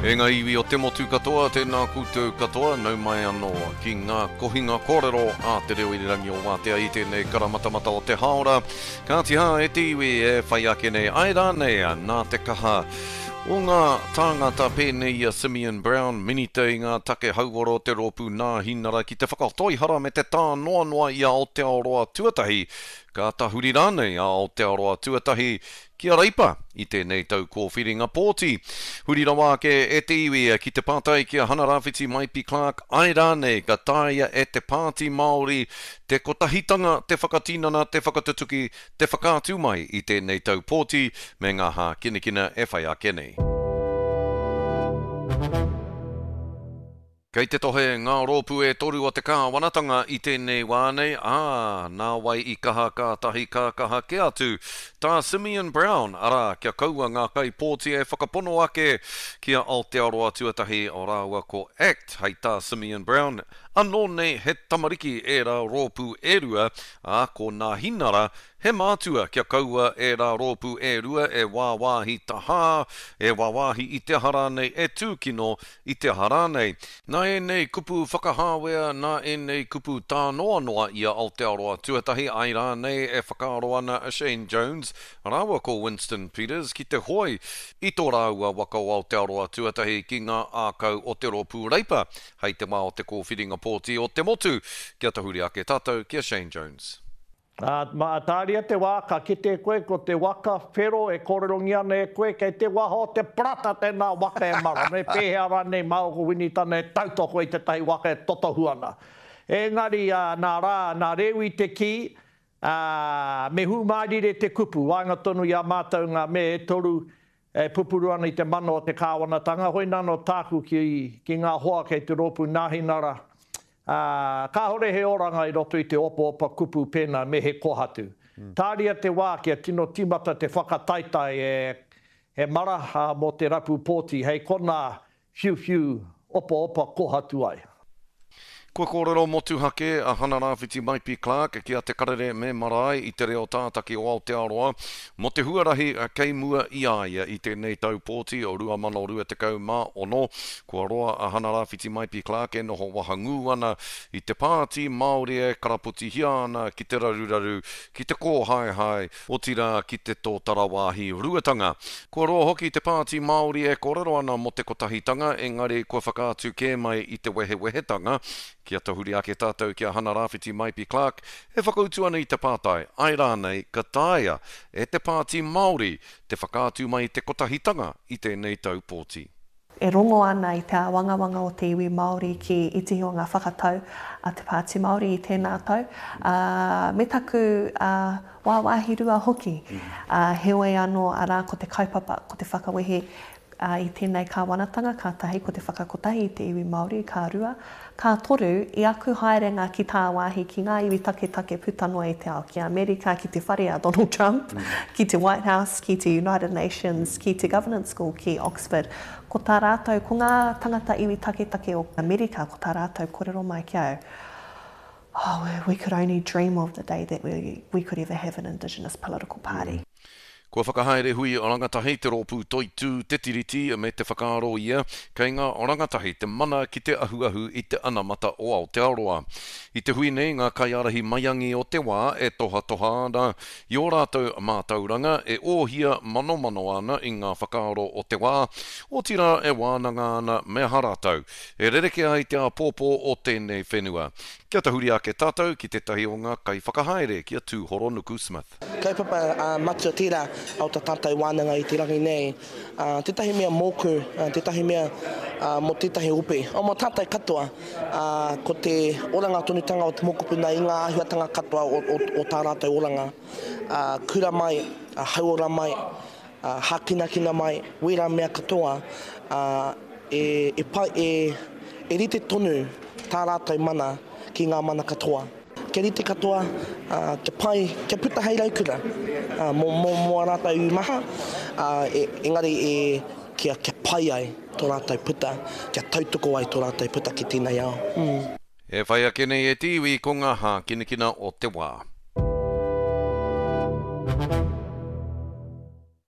E ngā iwi o te motu katoa, tēnā koutou katoa, nau mai anō ki ngā kohinga kōrero a Te Reo Irirangi o Wātea i tēnei karamatamata o te hāora. Kāti hā e te iwi e whai ake nei, āe rānei, nā te kaha o ngā tāngata pēnei i a Simeon Brown, Minita i ngā take hauora o te Rōpū Nāhinara ki te whakatoihara me te tānoanoa i a Aotearoa Tuatahi, ka tahuri rānei a Aotearoa Tuatahi ki a Reipa i tēnei tau kōwhiringa pōti. Huri rawa ake e te iwi ki te pātai ki a Hana-Rāwhiti Maipi Clarke āe rānei ka taea e te Pāti Māori te kotahitanga te whakatinana, te whakatutuki, te whakaatu mai i tēnei tau pōti me ngā hākinakina e whai ake nei. Kei te tohe ngā rōpū e toru o te kāwanatanga i tēnei wā nei, ā, nā wai i kaha kātahi ka kaha kē atu tā Simeon Brown, arā, kia kaua ngā kaipōti e whakapono ake ki a Aotearoa Tuatahi rāua ko act, hei tā Simeon Brown, anō nei he tamariki ērā rōpū e rua, ā, ko Nāhinara He mātua kia kaua ērā rōpū e rua e wāwāhi tahā, e wāwāhi i te aha rānei, e tūkino i te aha rānei. Nā ēnei kupu whakahāwea, nā ēnei kupu tānoanoa i a Aotearoa Tuatahi, ai rānei e whakaaro ana a Shane Jones rāua ko Winston Peters ki te hoe i tō rāua waka o Aotearoa Tuatahi ki ngā ākau o te Rōpū Reipa hei te wā o te kōwhiringa pōti o te motu. Kia tahuri ake tātou ki a Shane Jones. Ā, mā, tāria te wā, ka kite koe ko te waka whero e kōrerongia ana e koe, kei te waha o te parata tēnā waka e mara, me pēhea rānei māua ko Winitana e tautoko i tētahi waka e totohu ana. Engari, ā, nā rā, nā Rewi te kī, ā, me hūmārire te kupu, waenga tonu i a mātou ngā me e toru e pupuru ana i te mana o te kāwanatanga, hoinānō tāku ki, ki ngā hoa kei te rōpū Nāhinara, Ā, kāhore he oranga i roto i te opaopa kupu pēnā me he kohatu. Tāria te wā kia tino tīmata te whakataetae e he mara mō te rapu pōti hei konā whiuwhiu opaopa kohatu ai. Kua kōrero motuhake a Hana-Rāwhiti Maipi-Clarke ki a Te Karere me Marae i te reo tātaki o Aotearoa mō te huarahi kei mua i a ia i tēnei tau pōti o 2026. Kua roa a Hana-Rāwhiti Maipi-Clarke e noho wahangū ana i te Pāti Māori e karapotihia ana ki te raruraru, ki te kōhaehae, otirā ki te tōtara wāhi ruatanga. Kua roa hoki te Pāti Māori e kōrero ana mō te kotahitanga, engari kua whakaatu kē mai i te wehewehetanga. Kia tahuri ake tātou ki a Hana-Rāwhiti Maipi-Clarke e whakautu ana i te pātai, āe rānei ka taea e te Pāti Māori te whakaatu mai te kotahitanga i tēnei tau pōti? E rongo ana i te āwangawanga o te iwi Māori ki itihi o ngā whakatau a te Pāti Māori i tēnā tau, ā, me taku wāwāhi rua hoki. Ā, heoi anō, arā, ko te kaupapa, ko te whakawehe i tēnei kāwanatanga, ka tahi, ko te whakakotahi i te iwi Māori, ka rua. Ka toru, i aku haerenga ki tāwāhi, ki ngā iwi taketake puta noa i te ao, ki Amerika, ki te whare a Donald Trump, ki te White House, ki te United Nations, ki te Governance School ki Oxford, ko tā rātou, ko ngā tangata iwi taketake o Amerika, ko tā rātou korero mai ki au, Oh, we could only dream of the day that we, we could ever have an Indigenous political party. Kua whakahaere hui rangatahi te rōpū Toitū Te Tiriti me te whakaaro ia kei ngā rangatahi te mana ki te ahuahu i te anamata o Aotearoa. I te hui nei ngā kaiārahi maiangi o te wā e tohatoha ana i ō rātou mātauranga, e ōhia manomano ana i ngā whakaaro o te wā, otirā e wānanga ana me aha rātou e rerekē ai te āpōpō o tēnei whenua. Kia tahuri ake tātou ki tētahi o ngā kaiwhakahaere ki a Tūhoronuku Smith. Kaupapa matua tērā o tā tātou wānanga i te rangi nei. Tētahi mea mōku, tētahi mea mō tētahi ope, mō tātou katoa, ko te oranga tonutanga o te mokopuna i ngā āhuatanga katoa o tā rātou oranga. Kura mai, hauora mai, hākinakina mai, wērā mea katoa, e pai, e rite tonu tā rātou mana ki ngā mana katoa. Kia rite katoa, kia pai, kia puta hei raukura mō, mō, mō ā rātou iwi maha, ā, e, engari e, kia, kia pai ai tō rātou puta, kia tautoko ai tō rātou puta ki tēnei ao. Mm. E whai ake nei e te iwi ko ngā hākinakina o te wā.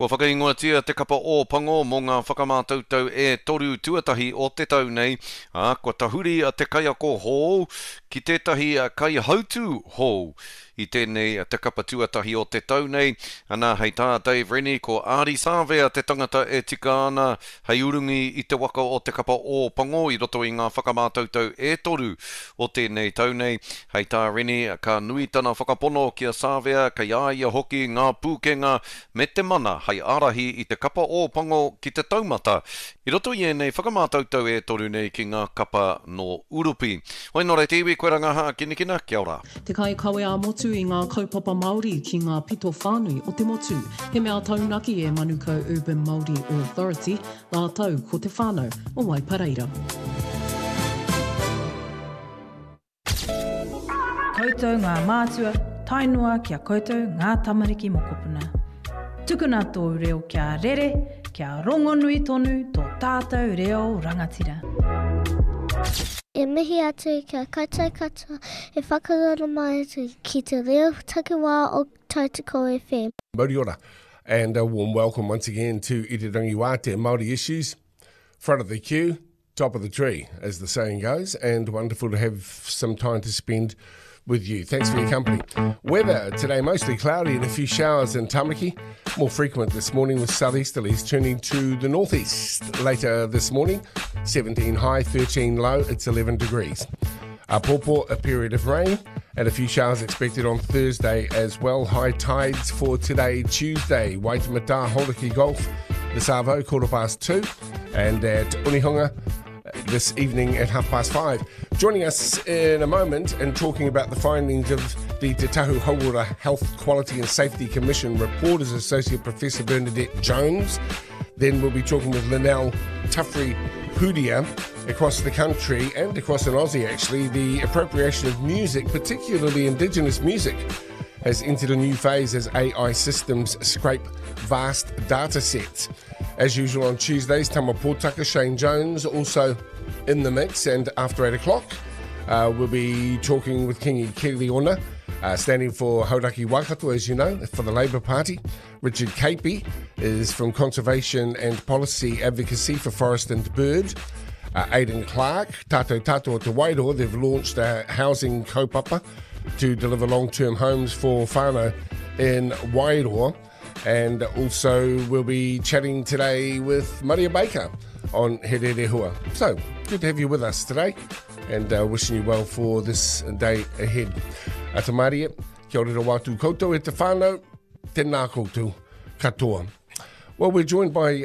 Kua whakaingoatia te kapa Ō Pango mō ngā whakamātautau e toru tuatahi o te tau nei, ā, kua tahuri te kaiako hou ki tētahi kaihautū hou i tēnei te kapa tuatahi o te tau nei. Ana, hei tā Dave Rennie, ko Ardie Savea te tangata e tika ana hei urungi i te waka o te kapa Ō Pango i roto i ngā whakamātautau e toru o tēnei tau nei. Hei tā Rennie, ka nui tana whakapono ki a Savea, kei a ia hoki ngā pūkenga me te mana hei ārahi i te kapa Ō Pango ki te taumata i roto i ēnei whakamātautau e toru nei ki ngā kapa nō Urupi. Hoi nō reira te iwi, koe rā ngā hākinakina, kia ora. Te kaikawe ā-motu i ngā kaupapa Māori ki ngā pito whānui o te motu. He mea taunaki e Manukau Urban Māori Authority rātou ko te whānau o Waipareira. Koutou ngā mātua, tae noa ki a koutou ngā tamariki mokopuna. Tukuna tōu reo kia rere, kia rongonui tonu tō tātou reo rangatira. E mihi atu ki a koutou katoa e whakaroro mai ana ki te reo takiwā o Tautoko FM. Mauri ora and a warm welcome once again to Irirangi Wātea Māori Issues. Front of the queue, top of the tree, as the saying goes, and wonderful to have some time to spend with you. Thanks for your company. Weather today mostly cloudy and a few showers in Tamaki. More frequent this morning with southeasterlies turning to the northeast later this morning. 17 high, 13 low, it's 11 degrees. Apopo, a period of rain and a few showers expected on Thursday as well. High tides for today, Tuesday. Waitemata, Hauraki Gulf, the Savo, 2:15, and at Onehunga this evening at 5:30. Joining us in a moment and talking about the findings of the Te Tahu Hauora Health Quality and Safety Commission report is Associate Professor Bernadette Jones. Then we'll be talking with Lynell Tuffrey Hudia across the country and across in Aussie, actually, the appropriation of music, particularly Indigenous music, has entered a new phase as AI systems scrape vast data sets. As usual on Tuesdays, Tama Potaka, Shane Jones also in the mix, and after 8 o'clock, we'll be talking with Kingi Kiriona, standing for Hauraki Waikato, as you know, for the Labour Party. Richard Capey is from Conservation and Policy Advocacy for Forest and Bird. Aidan Clark, Tato Tato Te Wairoa, they've launched a housing kaupapa to deliver long-term homes for whānau in Wairoa. And also we'll be chatting today with Maria Baker on He Rerehua. So, good to have you with us today and wishing you well for this day ahead. Ata Maria, kia ora rawa atu koutou e te whānau, tēnā koutou katoa. Well, we're joined by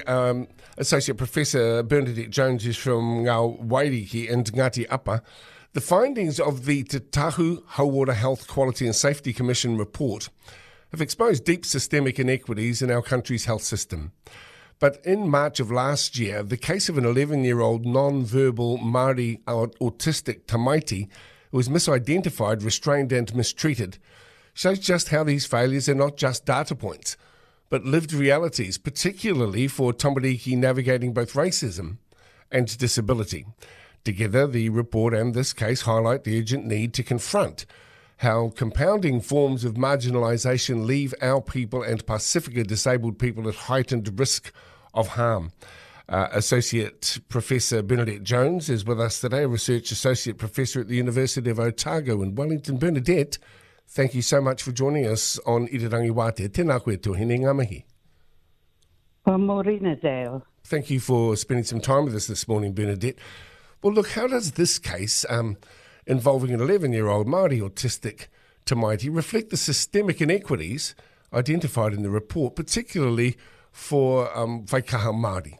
Associate Professor Bernadette Jones, who's from Ngā Wairiki and Ngāti Apa. The findings of the Te Tahu Hauora Health Quality and Safety Commission report have exposed deep systemic inequities in our country's health system. But in March of last year, the case of an 11-year-old non-verbal Māori autistic tamaiti who was misidentified, restrained and mistreated shows just how these failures are not just data points, but lived realities, particularly for tamariki navigating both racism and disability. Together, the report and this case highlight the urgent need to confront how compounding forms of marginalisation leave our people and Pasifika disabled people at heightened risk of harm. Associate Professor Bernadette Jones is with us today, Research Associate Professor at the University of Otago in Wellington. Bernadette, thank you so much for joining us on Irirangi Wātea. Tēnā koe tuahine, ngā mihi. Well, morena, Dale. Thank you for spending some time with us this morning, Bernadette. Well, look, how does this case involving an 11-year-old Māori autistic tamaiti reflect the systemic inequities identified in the report, particularly for whaikaha Māori?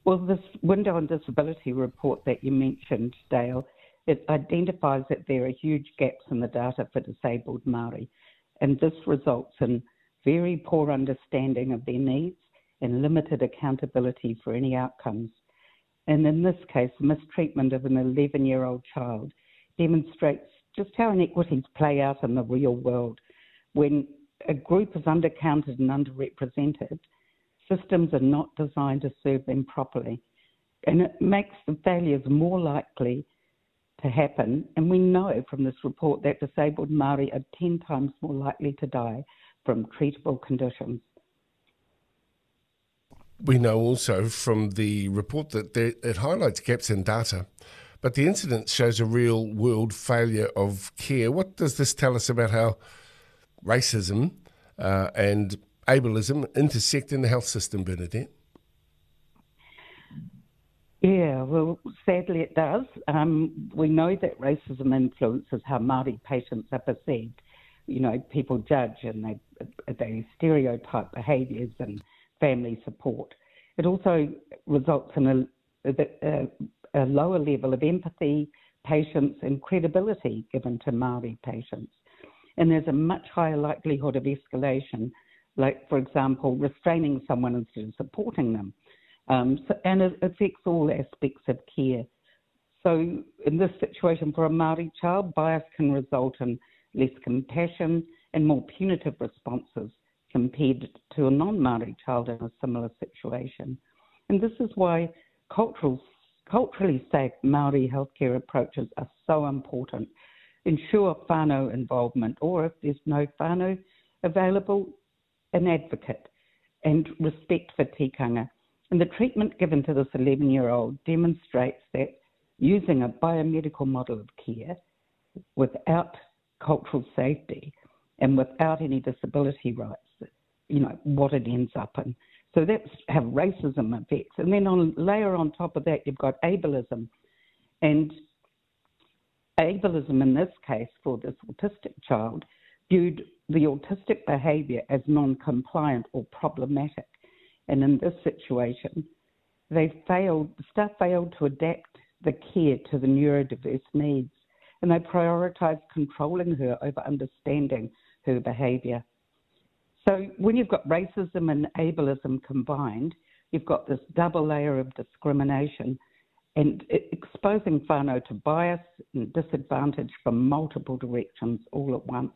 Well, this Window on Disability report that you mentioned, Dale, it identifies that there are huge gaps in the data for disabled Māori, and this results in very poor understanding of their needs and limited accountability for any outcomes. And in this case, the mistreatment of an 11-year-old child demonstrates just how inequities play out in the real world. When a group is undercounted and underrepresented, systems are not designed to serve them properly. And it makes the failures more likely to happen. And we know from this report that disabled Māori are 10 times more likely to die from treatable conditions. We know also from the report that there, it highlights gaps in data, but the incident shows a real world failure of care. What does this tell us about how racism and ableism intersect in the health system, Bernadette? Yeah, well, sadly it does. Um, we know that racism influences how Māori patients are perceived. You know, people judge and they, they stereotype behaviours and family support. It also results in a, a, a lower level of empathy, patience, and credibility given to Māori patients. And there's a much higher likelihood of escalation, like, for example, restraining someone instead of supporting them. Um, so, and it affects all aspects of care. So, in this situation, for a Māori child, bias can result in less compassion and more punitive responses compared to a non-Māori child in a similar situation. And this is why cultural, culturally safe Māori healthcare approaches are so important. Ensure whānau involvement, or if there's no whānau available, an advocate, and respect for tikanga. And the treatment given to this 11 year old demonstrates that using a biomedical model of care without cultural safety and without any disability rights, you know, what it ends up in. So that's how racism affects. And then on layer on top of that, you've got ableism. And ableism in this case for this autistic child viewed the autistic behaviour as non-compliant or problematic. And in this situation, they failed, staff failed to adapt the care to the neurodiverse needs and they prioritised controlling her over understanding her behaviour. So when you've got racism and ableism combined, you've got this double layer of discrimination and exposing whānau to bias and disadvantage from multiple directions all at once.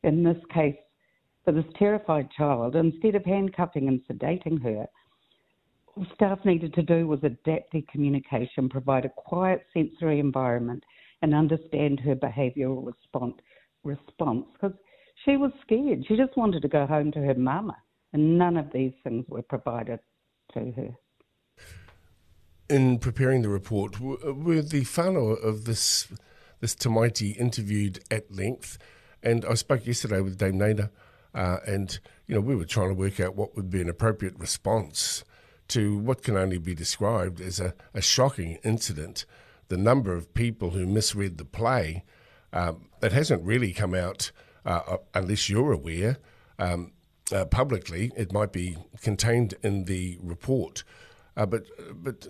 In this case, for this terrified child, instead of handcuffing and sedating her, all staff needed to do was adapt their communication, provide a quiet sensory environment, and understand her behavioural response. Response because she was scared. She just wanted to go home to her mama, and none of these things were provided to her. In preparing the report, were the whānau of this this tamaiti interviewed at length? And I spoke yesterday with Dame Naida, uh, and you know we were trying to work out what would be an appropriate response to what can only be described as a, a shocking incident. The number of people who misread the play, um, it hasn't really come out, uh, uh unless you're aware, um, uh, publicly. It might be contained in the report. Uh, but, but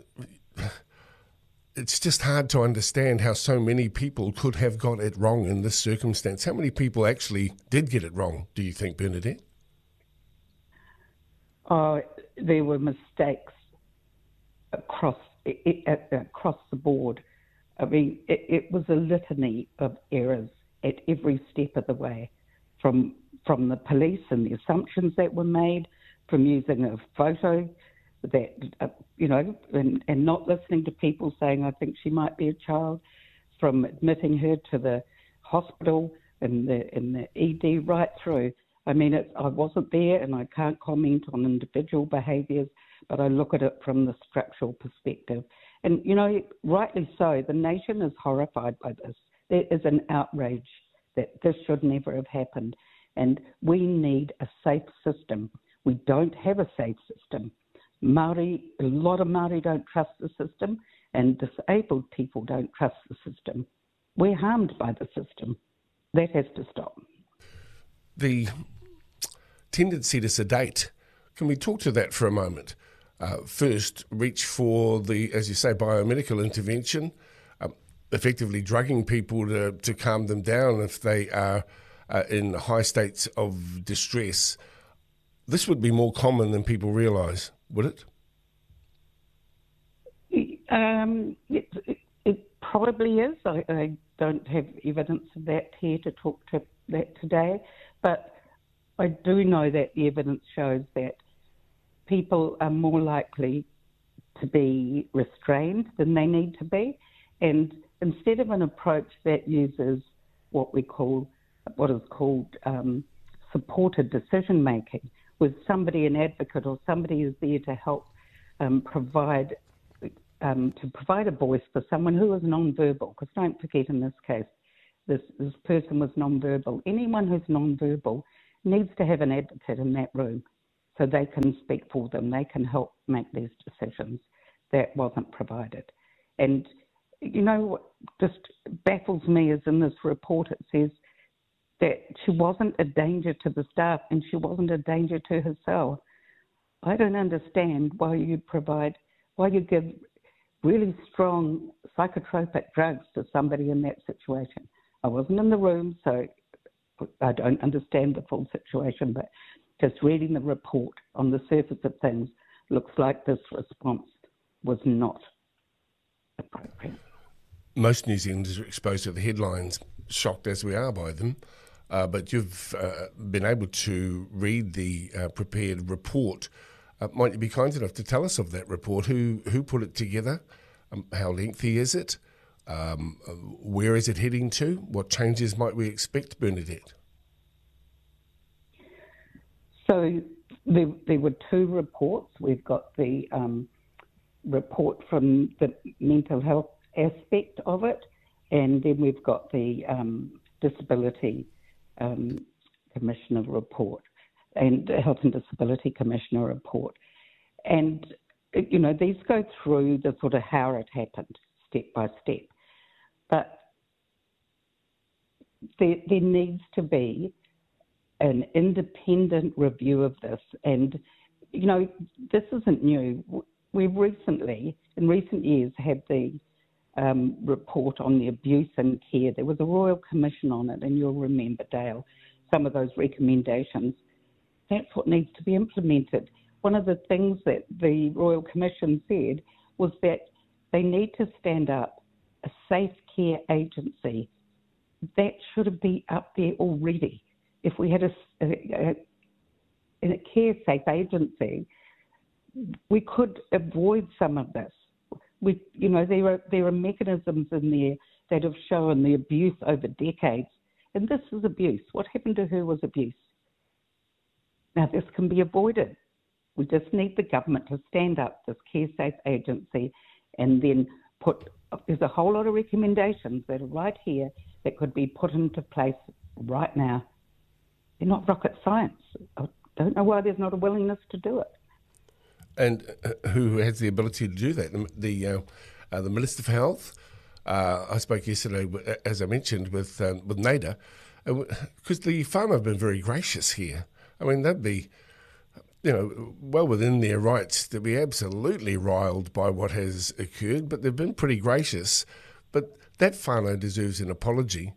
it's just hard to understand how so many people could have got it wrong in this circumstance. How many people actually did get it wrong, do you think, Bernadette? Oh, there were mistakes across across the board. I mean, it, it was a litany of errors at every step of the way, from from the police and the assumptions that were made, from using a photo that, uh, you know, and, and not listening to people saying, I think she might be a child, from admitting her to the hospital and the, and the ED right through. I mean, it, I wasn't there and I can't comment on individual behaviours, but I look at it from the structural perspective. And, you know, rightly so, the nation is horrified by this. There is an outrage that this should never have happened. And we need a safe system. We don't have a safe system. Māori, a lot of Māori don't trust the system, and disabled people don't trust the system. We're harmed by the system. That has to stop. The tendency to sedate, can we talk to that for a moment? Uh, first, reach for the, as you say, biomedical intervention, um, effectively drugging people to, to calm them down if they are uh, in high states of distress. This would be more common than people realise, would it? Um, it, it, it probably is. I, I don't have evidence of that here to talk to that today, but I do know that the evidence shows that people are more likely to be restrained than they need to be. And instead of an approach that uses what we call, what is called um, supported decision making, with somebody, an advocate or somebody is there to help um, provide um, to provide a voice for someone who is non-verbal. Because don't forget, in this case, this, this person was non-verbal. Anyone who's non-verbal needs to have an advocate in that room so they can speak for them, they can help make these decisions. That wasn't provided. And you know what just baffles me is in this report it says that she wasn't a danger to the staff and she wasn't a danger to herself. I don't understand why you provide, why you give really strong psychotropic drugs to somebody in that situation. I wasn't in the room, so I don't understand the full situation, but just reading the report on the surface of things looks like this response was not appropriate. Most New Zealanders are exposed to the headlines, shocked as we are by them. Uh, but you've uh, been able to read the uh, prepared report. Uh, might you be kind enough to tell us of that report? Who who put it together? Um, how lengthy is it? Um, uh, where is it heading to? What changes might we expect, Bernadette? So there, there were two reports. We've got the um, report from the mental health aspect of it, and then we've got the um, disability um, commissioner report and the health and disability commissioner report. And you know, these go through the sort of how it happened step by step. But there, there needs to be an independent review of this. And, you know, this isn't new. We've recently, in recent years, had the um, report on the abuse and care. There was a Royal Commission on it, and you'll remember, Dale, some of those recommendations. That's what needs to be implemented. One of the things that the Royal Commission said was that they need to stand up a safe care agency. That should be up there already. If we had a, a, a, a care safe agency, we could avoid some of this. We, you know, there are, there are mechanisms in there that have shown the abuse over decades. And this is abuse. What happened to her was abuse. Now, this can be avoided. We just need the government to stand up this CareSafe agency and then put, there's a whole lot of recommendations that are right here that could be put into place right now. They're not rocket science. I don't know why there's not a willingness to do it. And uh, who has the ability to do that? The the, uh, uh, the Minister for Health. Uh, I spoke yesterday, as I mentioned, with um, with Naida, because uh, the farmer have been very gracious here. I mean, they'd be, you know, well within their rights to be absolutely riled by what has occurred, but they've been pretty gracious. But that whānau deserves an apology.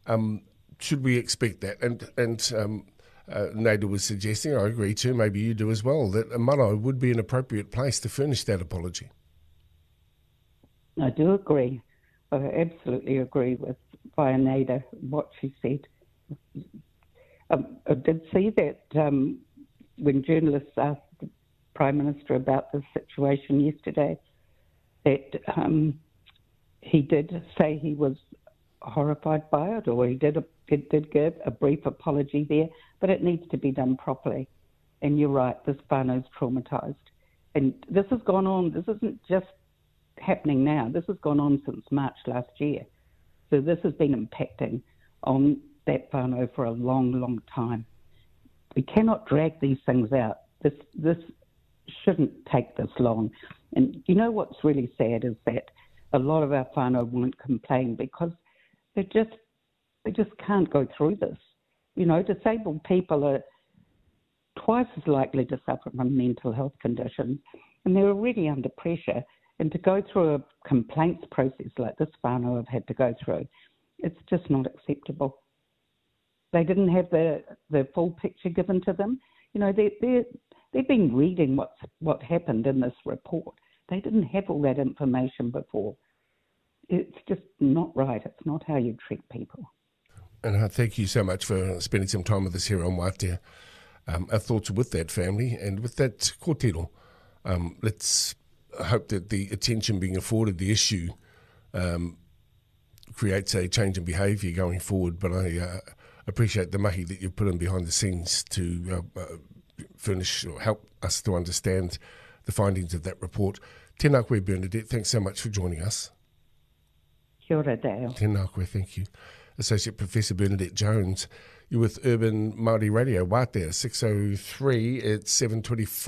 Um, should we expect that? And and um, uh, Nader was suggesting, I agree too, maybe you do as well, that a marae would be an appropriate place to furnish that apology. I do agree. I absolutely agree with Whaea Nader, what she said. Um, I did see that um, when journalists asked the Prime Minister about the situation yesterday, that um, he did say he was horrified by it, or he did, did, did give a brief apology there, but it needs to be done properly. And you're right, this whānau's traumatised. And this has gone on, this isn't just happening now, this has gone on since March last year. So this has been impacting on that whānau for a long, long time. We cannot drag these things out. This, this shouldn't take this long. And you know what's really sad is that a lot of our whānau won't complain because they just they just can't go through this. You know, disabled people are twice as likely to suffer from mental health conditions and they're already under pressure. And to go through a complaints process like this whānau have had to go through, it's just not acceptable. They didn't have the, the full picture given to them. You know, they, they, they've been reading what's, what happened in this report. They didn't have all that information before. It's just not right. It's not how you treat people. And I thank you so much for spending some time with us here on Wātea. Um, our thoughts are with that family and with that kōtiro. Um, let's hope that the attention being afforded the issue um, creates a change in behaviour going forward. But I uh, appreciate the mahi that you've put in behind the scenes to uh, uh, furnish or help us to understand the findings of that report. Tēnā koe, Bernadette. Thanks so much for joining us. Kia ora, Dale. Tēnā koe, thank you. Associate Professor Bernadette Jones. You're with Urban Māori Radio, Wātea, 603 at 7.25.